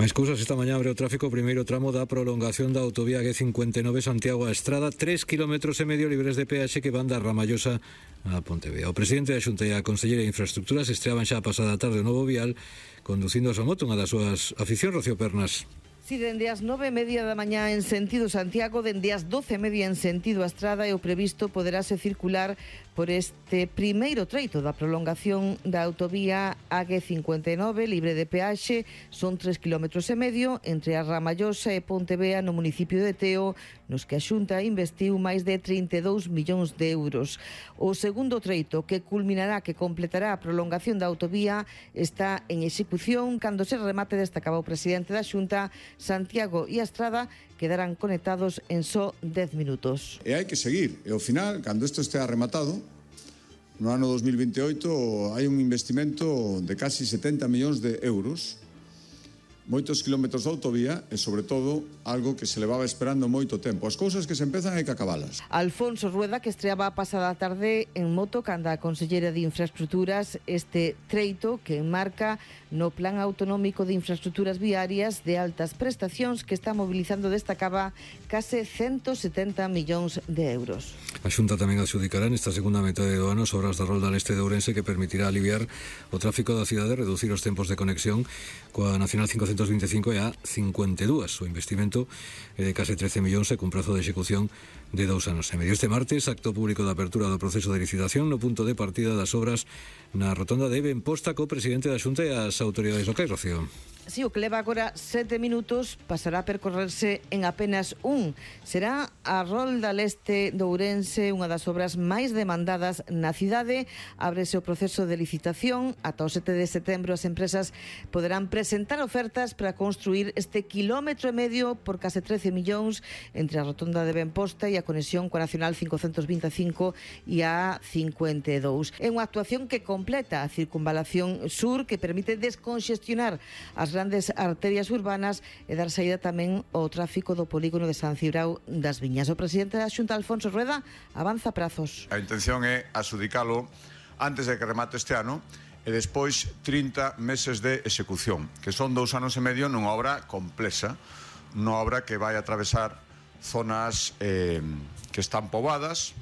Máis cousas, esta mañá abre o tráfico o primeiro tramo da prolongación da autovía G59 Santiago a Estrada, 3,5 km libres de peaxe que van da Ramallosa a Pontevea. O presidente da Xunta e a conselleira de Infraestructuras estreaban xa a pasada tarde o novo vial conducindo a súa moto, unha das súas aficións. Rocío Pernas. Si dende as 9:30 da mañá en sentido Santiago, dende as 12:30 en sentido a Estrada, e o previsto poderase circular por este primeiro treito da prolongación da autovía AG59 libre de peaxe. Son 3,5 km entre a Ramallosa e Pontevea no municipio de Teo, nos que a Xunta investiu máis de 32 millóns de euros. O segundo treito, que culminará, que completará a prolongación da autovía, está en execución. Cando se remate, destacaba o presidente da Xunta, Santiago e a Estrada quedarán conectados en só 10 minutos. E hai que seguir. E ao final, cando isto estea rematado, no ano 2028 hai un investimento de casi 70 millóns de euros, moitos kilómetros de autovía e, sobre todo, algo que se levaba esperando moito tempo. As cousas que se empezan hai que acabalas. Alfonso Rueda, que estreaba a pasada tarde en moto canda a conselleira de Infraestructuras este treito que enmarca no Plan Autonómico de Infraestructuras Viarias de altas prestacións que está mobilizando, destacaba, case 170 millóns de euros. A Xunta tamén adxudicará nesta segunda metade do ano as obras da Rolda Leste de Ourense, que permitirá aliviar o tráfico da cidade, reducir os tempos de conexión coa Nacional 525 e a 52. O investimento é de case 13 millóns e cun prazo de execución de 2 anos e medio. Este martes, acto público de apertura do proceso de licitación no punto de partida das obras na rotonda de Benposta co presidente da Xunta e as autoridades locais. Rocío. Si, o que leva agora 7 minutos pasará a percorrerse en apenas un. Será a Rolda Leste de Ourense, unha das obras máis demandadas na cidade. Ábrese o proceso de licitación. Ata o 7 de setembro as empresas poderán presentar ofertas para construir este 1,5 km por case 13 millóns entre a rotonda de Benposta e a conexión coa Nacional 525 e a 52. É unha actuación que completa a circunvalación sur, que permite desconxestionar as grandes arterias urbanas e dar saída tamén ao tráfico do polígono de San Cibrao das Viñas. O presidente da Xunta, Alfonso Rueda, avanza prazos. A intención é adxudicalo antes de que remate este ano e despois 30 meses de execución, que son 2 anos e medio nunha obra complexa, nunha obra que vai atravesar zonas que están poboadas,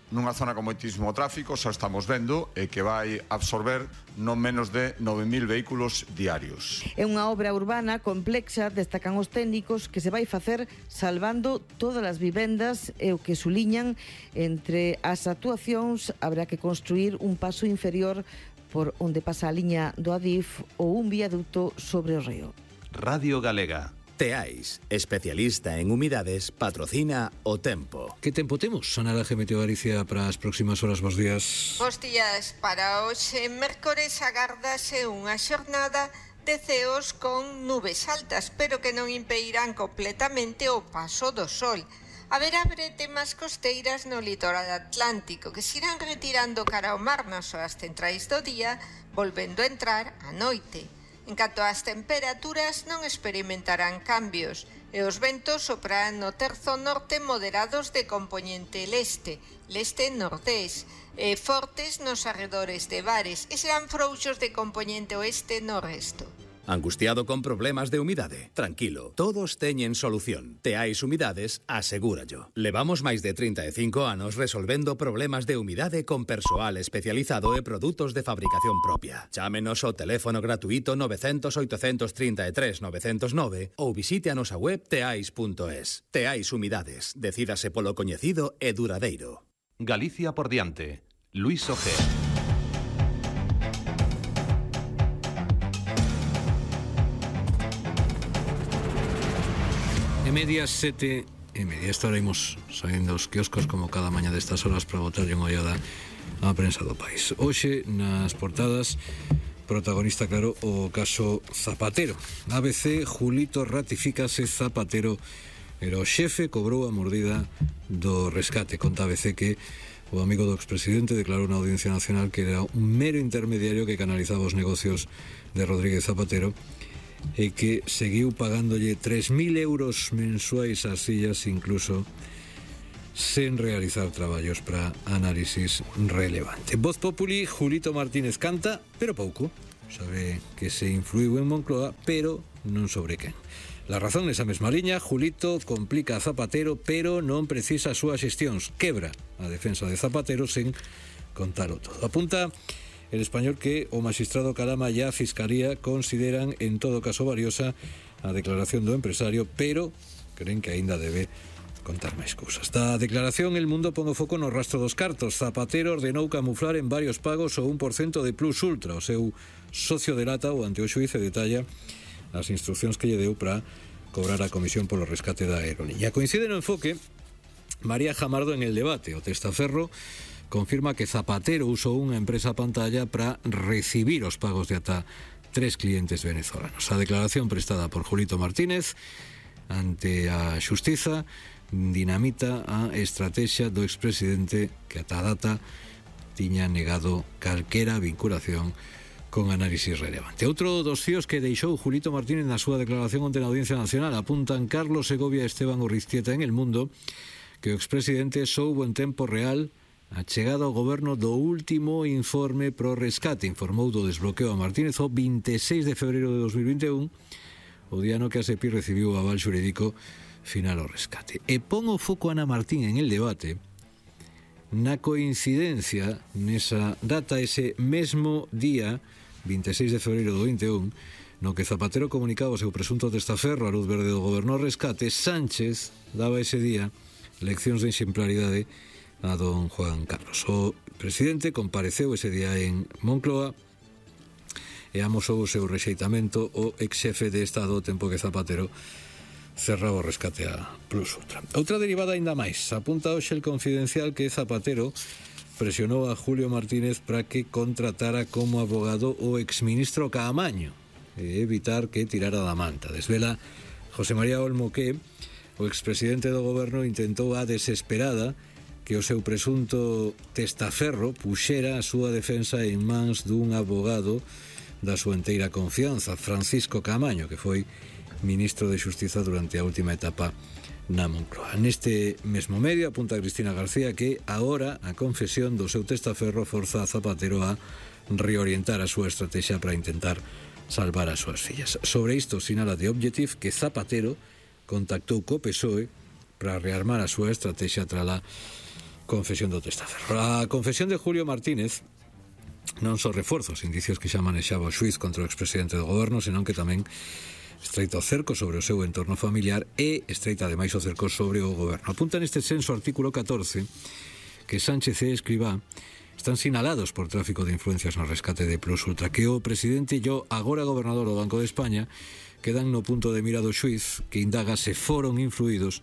nunha zona con moitísimo tráfico, xa estamos vendo, e que vai absorber non menos de 9.000 vehículos diarios. É unha obra urbana complexa, destacan os técnicos, que se vai facer salvando todas as vivendas, e o que suliñan entre as actuacións habrá que construir un paso inferior por onde pasa a liña do Adif ou un viaducto sobre o río. Radio Galega. Teais, especialista en humidades, patrocina O Tempo. Que tempo temos, Sonaraje Meteo Galicia, para as próximas horas? Bos días. Bos días. Para hoxe, mércores, agárdase unha xornada de ceos con nubes altas, pero que non impedirán completamente o paso do sol. Haberá bretemas costeiras no litoral atlántico, que se irán retirando cara ao mar nas horas centrais do día, volvendo a entrar a noite. En canto ás temperaturas, non experimentarán cambios e os ventos soprarán no terzo norte moderados de compoñente leste, leste-nordés, e fortes nos arredores de bares, e serán frouxos de compoñente oeste no resto. Angustiado con problemas de humidade? Tranquilo, todos teñen solución. Teais Humidades, asegúrallo. Levamos máis de 35 anos resolvendo problemas de humidade con persoal especializado e produtos de fabricación propia. Chámenos ao teléfono gratuito 900 833 909 ou visite a nosa web teais.es. Teais Humidades, decídase polo coñecido e duradeiro. Galicia por diante. Luis Ojea. E media 7:30. Esta hora imos saindo os quioscos como cada mañá destas horas para botarlle unha ollada á prensa do país. Hoxe, nas portadas, protagonista, claro, o caso Zapatero. ABC, Julito ratifícase, Zapatero era o xefe, cobrou a mordida do rescate. Conta ABC que o amigo do expresidente declarou na Audiencia Nacional que era un mero intermediario que canalizaba os negocios de Rodríguez Zapatero e que seguiu pagándolle 3.000 euros mensuais ás sillas, incluso sen realizar traballos para análisis relevante. Voz Populi, Julito Martínez canta, pero pouco. sabe que se influiu en Moncloa, pero non sobre quen. La razón nesa mesma liña, Julito complica a Zapatero, pero non precisa as súas xestións. Quebra a defensa de Zapatero sen contalo todo. Apunta El Español que o magistrado Calama e a Fiscalía consideran en todo caso valiosa a declaración do empresario, pero creen que aínda debe contar máis cousas. Da declaración, El Mundo pon o foco no rastro dos cartos. Zapatero ordenou camuflar en varios pagos o 1% de Plus Ultra. O seu socio delata o ante o xuíz e detalla as instruccións que lle deu para cobrar a comisión polo rescate da aerolínea. Coincide no enfoque María Jamardo en El Debate. O testaferro confirma que Zapatero usou unha empresa pantalla para recibir os pagos de ata 3 clientes venezolanos. A declaración prestada por Julito Martínez ante a Xustiza dinamita a estrategia do expresidente que ata a data tiña negado calquera vinculación con análisis relevante. Outro dos fíos que deixou Julito Martínez na súa declaración onte na Audiencia Nacional apuntan Carlos Segovia e Esteban Urriztieta en El Mundo que o expresidente soubo en tempo real a chegada ao goberno do último informe pro rescate. Informou do desbloqueo a Martínez o 26 de febreiro de 2021, o día no que a SEPI recibiu o aval xurídico final ao rescate. E pon o foco Ana Martín en El Debate na coincidencia nesa data, ese mesmo día 26 de febreiro do 21, no que Zapatero comunicaba o seu presunto testaferro a luz verde do goberno ao rescate. Sánchez daba ese día leccións de exemplaridade a don Juan Carlos. O presidente compareceu ese día en Moncloa e amosou o seu rexeitamento o ex-xefe de Estado o tempo que Zapatero cerraba o rescate a Plus Ultra. Outra derivada aínda máis. Apunta hoxe El Confidencial que Zapatero presionou a Julio Martínez para que contratara como abogado o exministro Caamaño e evitar que tirara da manta. Desvela José María Olmo que o expresidente do goberno intentou a desesperada que o seu presunto testaferro puxera a súa defensa en mans dun abogado da súa enteira confianza, Francisco Caamaño, que foi ministro de Xustiza durante a última etapa na Moncloa. Neste mesmo medio apunta Cristina García que agora a confesión do seu testaferro forza a Zapatero a reorientar a súa estrategia para intentar salvar as súas fillas. Sobre isto sinala The Objective que Zapatero contactou co PSOE para rearmar a súa estrategia tras a confesión do testaferro. A confesión de Julio Martínez non só reforza os indicios que xa manexaba o xuiz contra o expresidente do goberno, senón que tamén estreita o cerco sobre o seu entorno familiar e estreita ademais o cerco sobre o goberno. Apunta neste senso o artículo 14 que Sánchez e Escrivá están sinalados por tráfico de influencias no rescate de Plus Ultra, que o presidente e o agora gobernador do Banco de España quedan no punto de mira do xuiz que indaga se foron influídos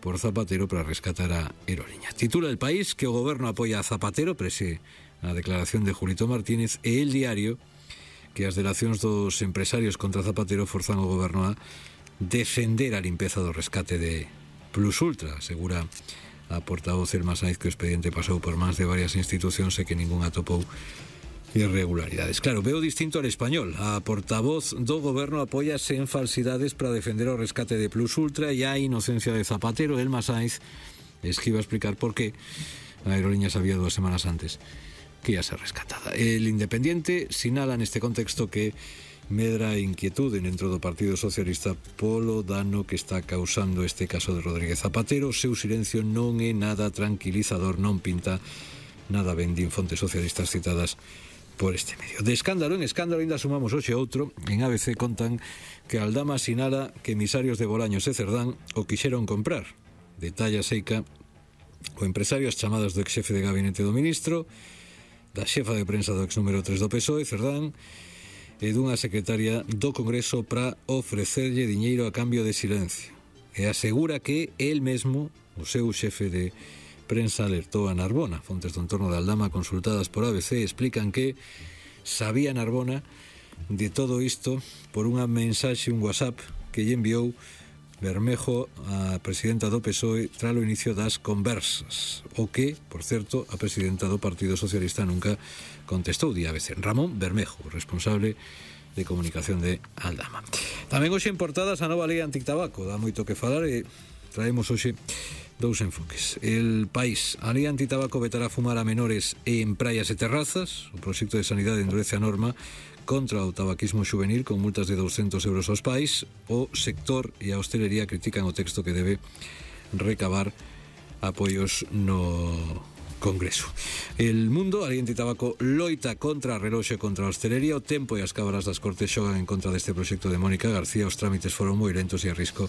por Zapatero para rescatar a aerolínea. Titula El País que o goberno apoia a Zapatero prese a declaración de Julito Martínez e El Diario que as delacións dos empresarios contra Zapatero forzan o goberno a defender a limpeza do rescate de Plus Ultra. Asegura a portavoz Elma Saiz que o expediente pasou por mans de varias institucións e que ningún atopou irregularidades. Claro, veo distinto al Español. A portavoz do goberno apóyase en falsidades para defender o rescate de Plus Ultra e a inocencia de Zapatero. Elma Saiz esquiva explicar por qué a aerolínea sabía 2 semanas antes que ia ser rescatada. El Independiente sinala neste contexto que medra a inquietude dentro do Partido Socialista polo dano que está causando este caso de Rodríguez Zapatero. O seu silencio non é nada tranquilizador, non pinta nada ben, din fontes socialistas citadas por este medio. De escándalo en escándalo ainda sumamos hoxe outro. En ABC contan que Aldama sinala que emisarios de Bolaños e Cerdán o quixeron comprar. Detalla Seica o empresario as chamadas do ex-xefe de gabinete do ministro, da xefa de prensa do ex número 3 do PSOE, Cerdán, e dunha secretaria do Congreso para ofrecerlle diñeiro a cambio de silencio. E asegura que el mesmo, o seu xefe de prensa, alertou a Narbona. Fontes do entorno de Aldama consultadas por ABC explican que sabía Narbona de todo isto por unha mensaxe, un WhatsApp que lle enviou Bermejo a presidenta do PSOE tras o inicio das conversas, o que, por certo, a presidenta do Partido Socialista nunca contestou. Di ABC Ramón Bermejo, responsable de comunicación de Aldama. Tamén hoxe en portadas a nova lei anticabaco, dá moito que falar e traemos hoxe dous enfoques. El País: a lei antitabaco vetará fumar a menores e en praias e terrazas. O proxecto de sanidade endurece a norma contra o tabaquismo juvenil con multas de 200 euros aos pais. O sector e a hostelería critican o texto que debe recabar apoios no Congreso. El Mundo: a lei antitabaco loita contra a reloxo e contra a hostelería. O Tempo e as cámaras das Cortes xogan en contra deste proxecto de Mónica García. Os trámites foron moi lentos e a risco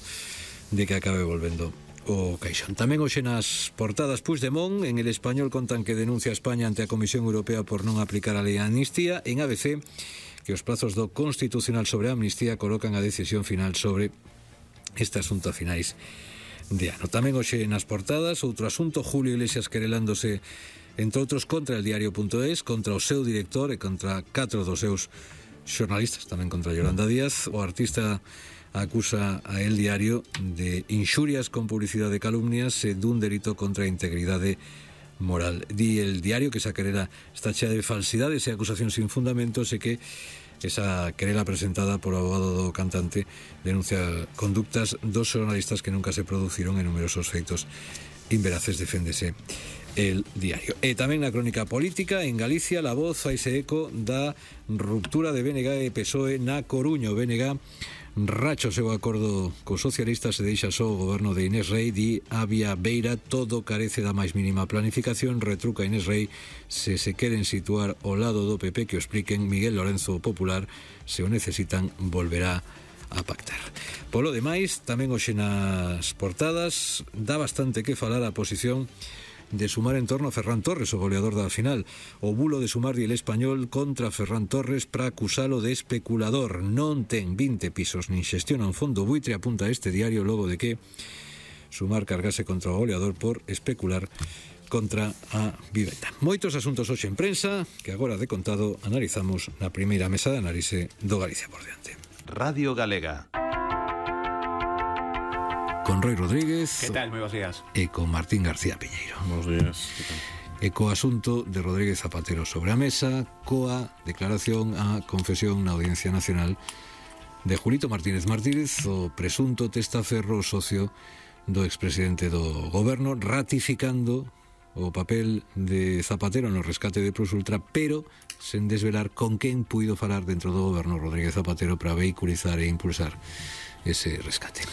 de que acabe volvendo o caixón. Tamén hoxe nas portadas: Puigdemont. En El Español contan que denuncia a España ante a Comisión Europea por non aplicar a lei de amnistía. En ABC, que os prazos do Constitucional sobre a amnistía colocan a decisión final sobre este asunto a finais de ano. Tamén hoxe nas portadas outro asunto: Julio Iglesias querelándose, entre outros, contra el diario.es, contra o seu director e contra 4 dos seus xornalistas, tamén contra Yolanda Díaz. O artista acusa a El Diario de inxurias con publicidade de calumnias e dun delito contra a integridade moral. Di El Diario que esa querela está chea de falsidades e acusacións sin fundamentos e que esa querela presentada por o abogado do cantante denuncia conductas dos xornalistas que nunca se produciron en numerosos feitos inveraces, deféndese El Diario. E tamén na crónica política: en Galicia, La Voz faise eco da ruptura de BNG e PSOE na Coruña. O BNG racha o seu acordo cos socialistas e deixa só o goberno de Inés Rei. Di Avia Beira: todo carece da máis mínima planificación. Retruca Inés Rei: se queren situar ao lado do PP, que o expliquen. Miguel Lorenzo, Popular: se o necesitan, volverá a pactar. Polo demais, tamén hoxe nas portadas dá bastante que falar a posición de Sumar en torno a Ferran Torres, o goleador da final. O bulo de Sumar di El Español contra Ferran Torres para acusalo de especulador. Non ten 20 pisos nin xestiona un fondo buitre, apunta este diario, logo de que Sumar cargase contra o goleador por especular contra a vivenda. Moitos asuntos hoxe en prensa que agora de contado analizamos na primeira mesa de análise do Galicia por diante. Radio Galega. Con Roy Rodríguez. ¿Qué tal? Muy buenos días. E con Martín García Piñeiro. Buenos días. E co asunto de Rodríguez Zapatero sobre a mesa, coa declaración a confesión na Audiencia Nacional de Julito Martínez Martínez, o presunto testaferro socio do expresidente do goberno, ratificando o papel de Zapatero no rescate de Plusultra, pero sen desvelar con quen puido falar dentro do goberno Rodríguez Zapatero para vehiculizar e impulsar ese rescate.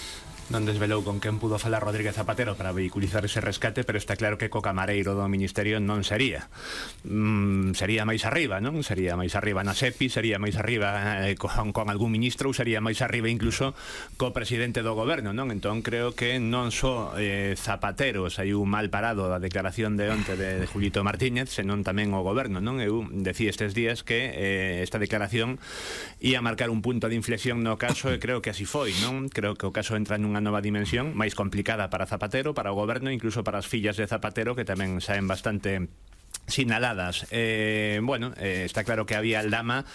Non desvelou con quen pudo falar Rodríguez Zapatero para vehiculizar ese rescate, pero está claro que co camareiro do Ministerio non sería. Sería máis arriba, non? Sería máis arriba na SEPI, sería máis arriba con algún ministro, ou sería máis arriba incluso co presidente do goberno, non? Entón creo que non só Zapatero saiu mal parado da declaración de onte de Julito Martínez, senón tamén o goberno, non? Eu decía estes días que esta declaración ia marcar un punto de inflexión no caso, e creo que así foi, non? Creo que o caso entra nunha nova dimensión máis complicada para Zapatero, para o goberno, incluso para as fillas de Zapatero, que tamén saen bastante sinaladas. Está claro que había Aldama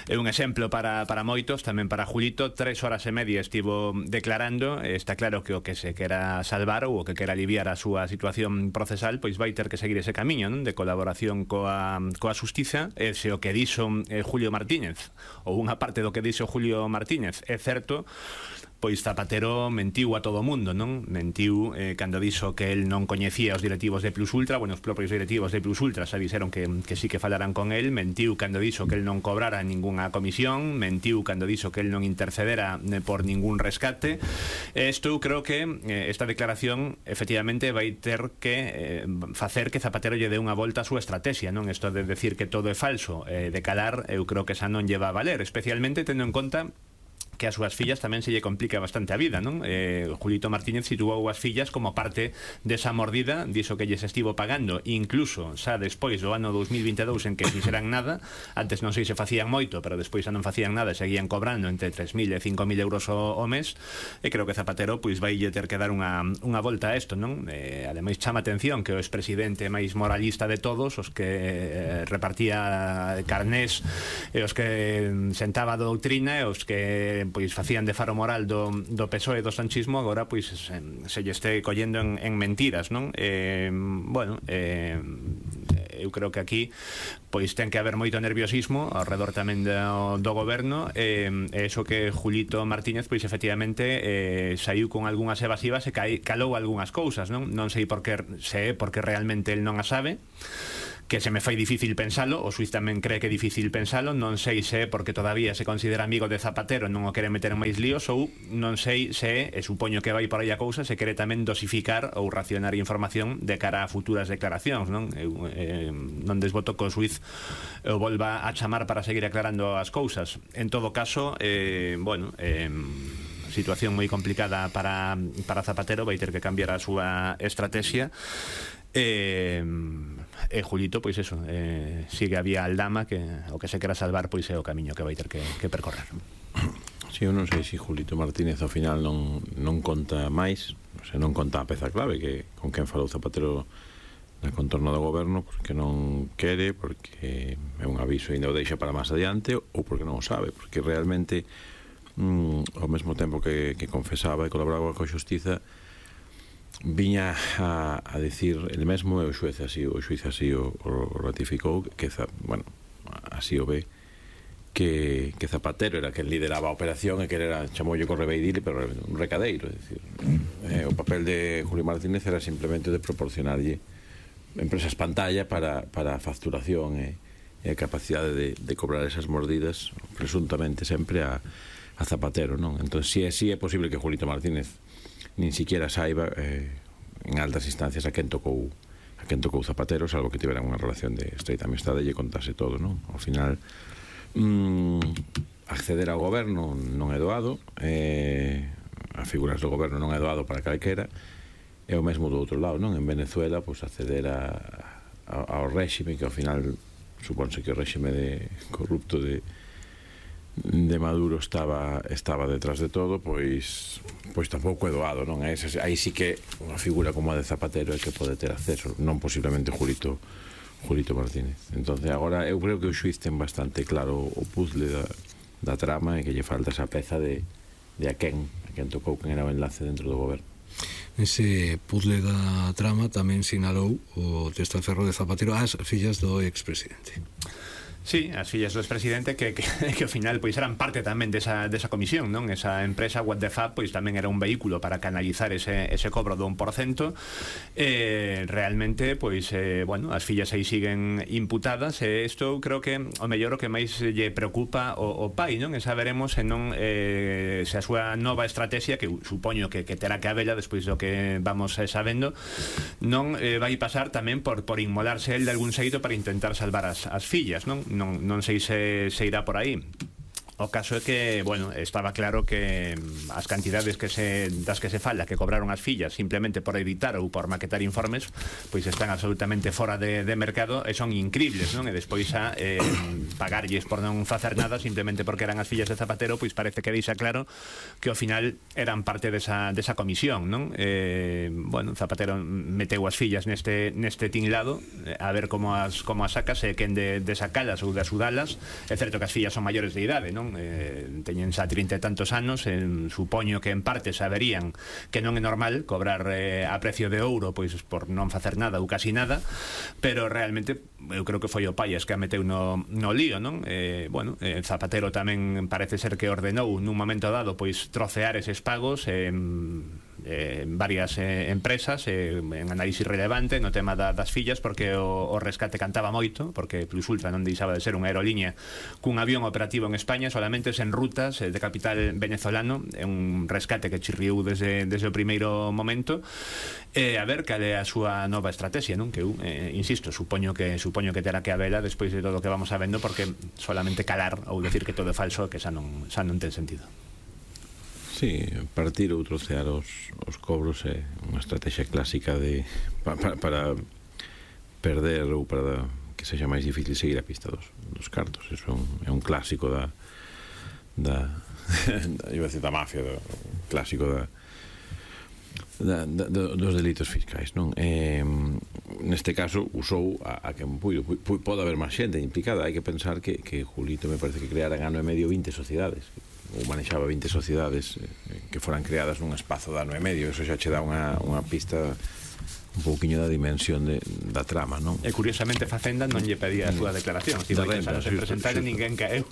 é un exemplo para moitos, tamén para Julito. 3 horas e media estivo declarando. Está claro que o que se quera salvar ou o que quera aliviar a súa situación procesal, pois vai ter que seguir ese camiño, non? De colaboración coa xustiza. Ese o que dixo Julio Martínez, ou unha parte do que dixo Julio Martínez é certo. Pois Zapatero mentiu a todo o mundo, non? Mentiu cando dixo que el non coñecía os directivos de Plusultra. Bueno, os propios directivos de Plusultra xa dixeron que sí que falaran con el. Mentiu cando dixo que el non cobrara ningunha comisión. Mentiu cando dixo que el non intercedera por ningún rescate. Isto creo que esta declaración efectivamente vai ter que facer que Zapatero lle dé unha volta a súa estrategia, non? Isto de decir que todo é falso, de calar, eu creo que esa non lle va a valer, especialmente tendo en conta que a súas fillas tamén se lle complica bastante a vida, non? Julito Martínez situou as fillas como parte desa mordida, diso que lles estivo pagando, incluso xa despois do ano 2022 en que fixeran nada. Antes non sei se facían moito, pero despois xa non facían nada e seguían cobrando entre 3.000 e 5.000 euros o mes. E creo que Zapatero pois vai ter que dar unha volta a isto, non? Ademais chama atención que o expresidente máis moralista de todos, os que repartía carnés e os que sentaba a doutrina e os que pois facían de faro moral do PSOE e do sanchismo, agora pois se lle este collendo en mentiras, non? eu creo que aquí pois ten que haber moito nerviosismo ao redor tamén do goberno, e iso que Julito Martínez pois efectivamente saiu con algunhas evasivas e calou algunhas cousas, non sei por que, se é porque realmente el non a sabe, que se me fai difícil pensalo, o Suiz tamén cree que é difícil pensalo, non sei se é porque todavía se considera amigo de Zapatero e non o quere meter en máis líos, ou non sei se, e supoño que vai por aí a cousa, se quere tamén dosificar ou racionar información de cara a futuras declaracións, non? Non desboto que o Suiz o volva a chamar para seguir aclarando as cousas. En todo caso, situación moi complicada para Zapatero, vai ter que cambiar a súa estrategia. Julito, pois eso, sigue a vía aldama, que o que se quera salvar pois é o camiño que vai ter que percorrer. Si, eu non sei se Julito Martínez ao final non conta máis, non conta a peza clave que con quen falou Zapatero no contorno do goberno, porque non quere, porque é un aviso e ainda o deixa para máis adiante, ou porque non o sabe, porque realmente ao mesmo tempo que confesaba e colaboraba coa xustiza, viña a decir el mesmo, e o xuiz así o ratificou, que así o ve, que Zapatero era quen lideraba a operación e que era, chamoulle correveidile, pero un recadeiro, é dicir, o papel de Julio Martínez era simplemente de proporcionarlle empresas pantalla para a facturación e a capacidade de cobrar esas mordidas, presuntamente sempre a Zapatero, non? Entón, si é posible que Julito Martínez nin siquiera saiba en altas instancias a quen tocou Zapatero, salvo que tiveran unha relación de estreita amistade e lle contase todo, non? Ao final, acceder ao goberno non é doado, a figuras do goberno non é doado para calquera, é o mesmo do outro lado, non? En Venezuela, pois acceder ao réxime, que ao final supónse que o réxime corrupto de Maduro estaba detrás de todo, pois tampouco é doado, non? Aí sí que unha figura como a de Zapatero é que pode ter acceso, non posiblemente Julito Martínez. Entonces agora eu creo que o xuiz ten bastante claro o puzzle da trama, e que lle falta esa peza de a quen tocou, quen era o enlace dentro do goberno. Ese puzzle da trama tamén sinalou o testaferro de Zapatero as fillas do expresidente. Sí, as fillas do expresidente que ao final pois eran parte tamén desa comisión, non? Esa empresa What the Fab pois tamén era un vehículo para canalizar ese cobro do 1%. Realmente pois as fillas aí siguen imputadas, e isto creo que o mellor o que máis lle preocupa o pai, non? E saberemos se non se a súa nova estrategia, que supoño que terá que habela despois do que vamos sabendo, non vai pasar tamén por inmolarse el de algún xeito para intentar salvar as fillas, non? Non sei se irá por aí. O caso é que, estaba claro que as cantidades das que se fala que cobraron as fillas simplemente por editar ou por maquetar informes, pois están absolutamente fora de mercado e son incribles, non? E despois a pagarlles por non facer nada simplemente porque eran as fillas de Zapatero, pois parece que deixa claro que ao final eran parte desa comisión, non? Zapatero meteu as fillas neste tinglado, a ver como as sacas, e quen de sacalas ou de asudalas. É certo que as fillas son maiores de idade, non? Teñen xa 30 e tantos anos, supoño que en parte saberían que non é normal cobrar a precio de ouro pois por non facer nada ou casi nada, pero realmente eu creo que foi o Paias que a meteu no lío, non? Zapatero tamén parece ser que ordenou nun momento dado pois trocear eses pagos en varias empresas, en análisis relevante no tema das fillas, porque o rescate cantaba moito, porque Plus Ultra non deixaba de ser unha aerolínea cun avión operativo en España, solamente en rutas de capital venezolano. É un rescate que chirriou desde o primeiro momento. A ver cal é a súa nova estrategia, non? Que eu, insisto, supoño que terá que habela despois de todo o que vamos sabendo, porque solamente calar ou decir que todo é falso, que xa non ten sentido. Sí, partir ou trocear os cobros é unha estrategia clásica para perder ou para que sexa máis difícil seguir a pista dos cartos. Eso é un clásico da mafia, clásico dos delitos fiscais, non? Neste caso usou a quen puido. Pode haber máis xente implicada. Hai que pensar que Julito me parece que creara en ano e medio 20 sociedades, ou manexaba 20 sociedades que foran creadas nun espazo de ano e medio. Eso xa che dá unha pista un pouquiño da dimensión da trama, non? E curiosamente Facenda non lle pedía a súa declaración, estivo aí anos en presentar e ninguén caeu.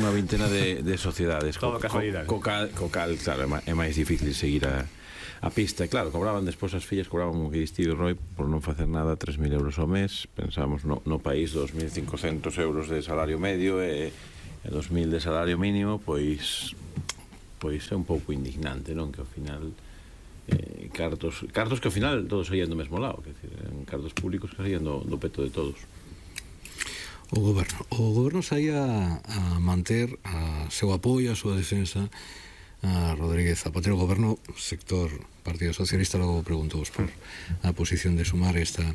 Unha vintena de sociedades. Todo casualidade. Co cal, claro, é máis difícil seguir a pista. E claro, cobraban despois as fillas, cobraban o que distive Roy por non facer nada 3.000 euros ao mes. Pensábamos no país 2.500 euros de salario medio e 2.000 de salario mínimo, pois é un pouco indignante, non? Que ao final cartos que ao final todos saían do mesmo lado, que decir, cartos públicos que saían do peto de todos. O goberno saía a manter a seu apoio, a súa defensa a Rodríguez Zapatero. O goberno, sector Partido Socialista, logo preguntou por a posición de Sumar esta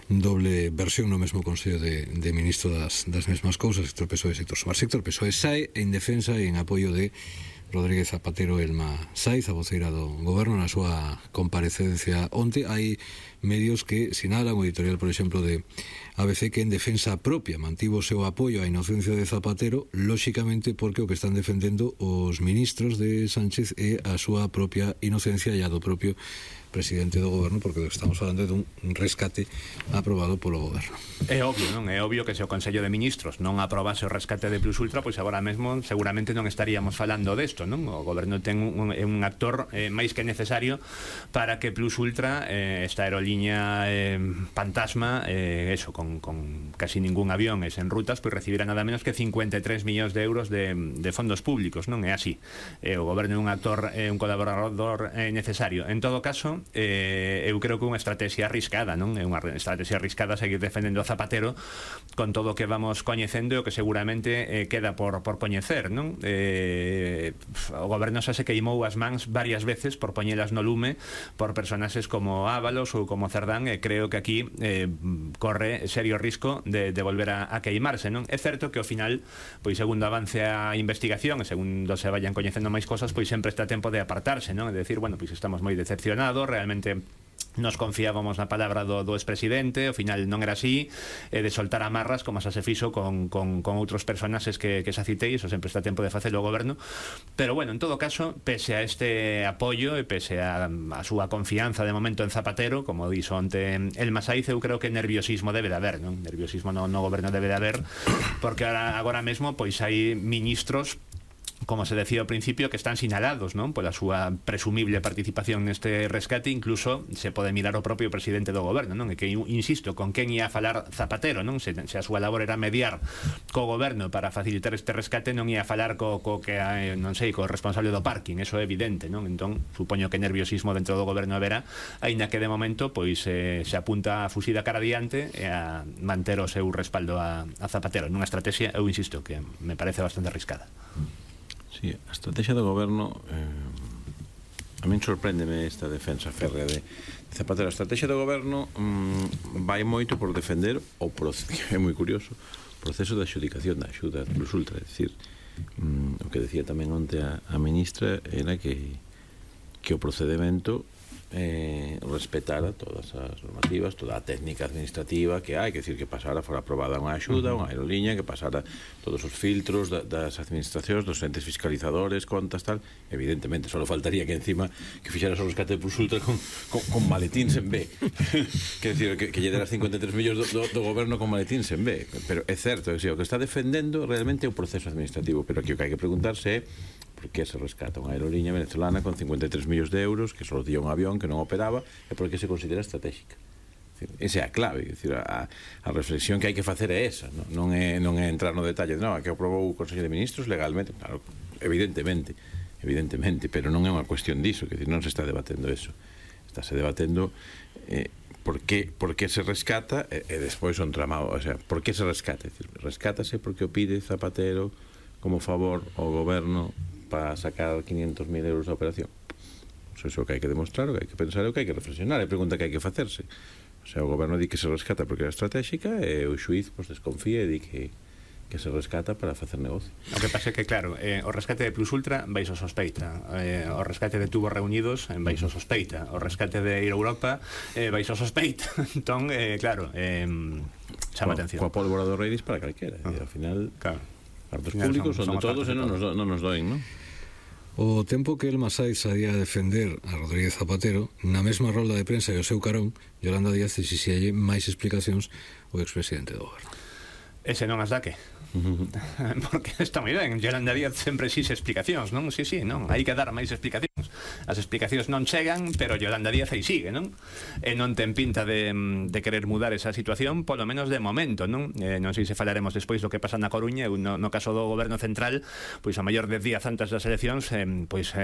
doble versión no mesmo Consello de Ministro das mesmas cousas, sector PSOE e sector Sumar. Sector PSOE sae en defensa e en apoio de Rodríguez Zapatero. Elma Saiz, a voceira do goberno, na súa comparecencia onte. Hai medios que sinalan, o editorial, por exemplo, de ABC, que en defensa propia mantivo o seu apoio á inocencia de Zapatero, lóxicamente porque o que están defendendo os ministros de Sánchez é a súa propia inocencia e a do propio presidente do goberno, porque estamos falando dun rescate aprobado polo goberno. É obvio, non? É obvio que se o Consello de Ministros non aprobase o rescate de Plus Ultra, pois agora mesmo seguramente non estaríamos falando desto, non? O goberno ten un actor máis que necesario para que Plus Ultra, esta aeroliña fantasma, eso, con casi ningún avión e sen rutas, pois recibirá nada menos que 53 millóns de euros de fondos públicos, non? É así. O goberno é un actor, un colaborador necesario. En todo caso, eu creo que unha estrategia arriscada, non? É unha estrategia arriscada seguir defendendo a Zapatero con todo o que vamos coñecendo e o que seguramente queda por coñecer, non? O goberno xa se queimou as mans varias veces por poñelas no lume por personaxes como Ábalos ou como Cerdán, e creo que aquí corre serio risco de volver a queimarse, non? É certo que ao final, pois segundo avance a investigación e segundo se vayan coñecendo máis cosas, pois sempre está tempo de apartarse, non? É dicir, bueno, pois estamos moi decepcionados, realmente nos confiábamos na palabra do expresidente, ao final non era así, de soltar amarras como xa se fixo con outros personaxes que xa citei. Iso sempre está tempo de facelo o goberno, pero bueno, en todo caso, pese a este apoio e pese a súa confianza de momento en Zapatero, como dixo onte Elma Saiz, eu creo que nerviosismo debe de haber, non? Nerviosismo no goberno debe de haber, porque agora mesmo pois hai ministros, como se decía ao principio, que están sinalados, non? Pola súa presumible participación neste rescate. Incluso se pode mirar o propio presidente do goberno, non? E que, insisto, con quen ia a falar Zapatero, non? Se a súa labor era mediar co goberno para facilitar este rescate, non ia a falar co responsable do parking, eso é evidente, non? Entón, supoño que nerviosismo dentro do goberno haberá, aínda que de momento pois se apunta a fuxida cara adiante e a manter o seu respaldo a Zapatero nunha estrategia, eu insisto, que me parece bastante arriscada. Sí, a estrategia do goberno a min sorpréndeme esta defensa férrea de Zapatero. A estrategia do goberno vai moito por defender o proceso, é moi curioso, o proceso de adxudicación da axuda Plus Ultra. É dicir, o que decía tamén onte a ministra era que o procedimento respetara todas as normativas, toda a técnica administrativa que hai, que decir, que pasara, fora aprobada unha axuda, unha aeroliña, que pasara todos os filtros das administracións, dos entes fiscalizadores, contas, tal. Evidentemente, só faltaría que encima que fixeras o rescate de Plus Ultra con maletíns en B. Que decir, que lle deras 53 millóns do goberno con maletíns en B. Pero é certo, o que está defendendo realmente é o proceso administrativo, pero aquí o que hai que preguntarse é por que se rescata unha aeroliña venezolana con 53 millóns de euros que só día un avión que non operaba, e por que se considera estratégica. Esa é a clave. Decir, a reflexión que hai que facer é esa, non é entrar no detalle de que aprobou o Consello de Ministros legalmente. Claro, evidentemente, pero non é unha cuestión diso, que non se está debatendo eso. Estáse debatendo por que se rescata e despois son tramado, o sea, por que se rescata. Rescátase porque o pide Zapatero como favor ao goberno para sacar 500.000 euros da operación. Eso que hai que demostrar, o que hai que pensar, o que hai que reflexionar, é pregunta que hai que facerse. O sea, o goberno di que se rescata porque é estratégica e o xuiz desconfía e di que se rescata para facer negocio. O que pasa é que, claro, o rescate de Plus Ultra baixo sospeita, o rescate de Tubos Reunidos baixo sospeita, o rescate de Ir a Europa baixo sospeita. Entón, claro, chama atención. Coa pólvora do Reiris para calquera, e ao final... Claro. Cartos públicos son de todos e non nos doen, non? O tempo que el Masai saía a defender a Rodríguez Zapatero, na mesma rolda de prensa e o seu carón, Yolanda Díaz exixíalle máis explicacións ao expresidente do goberno. Ese non as dá que? Porque está moi ben, Yolanda Díaz sempre exixe explicacións, non? Sí, non, hai que dar máis explicacións. As explicacións non chegan, pero Yolanda Díaz aí sigue, non? E non ten pinta de querer mudar esa situación, polo menos de momento, non? Non sei se falaremos despois do que pasa na Coruña, no caso do goberno central, pois a maior de días antes das eleccións, pois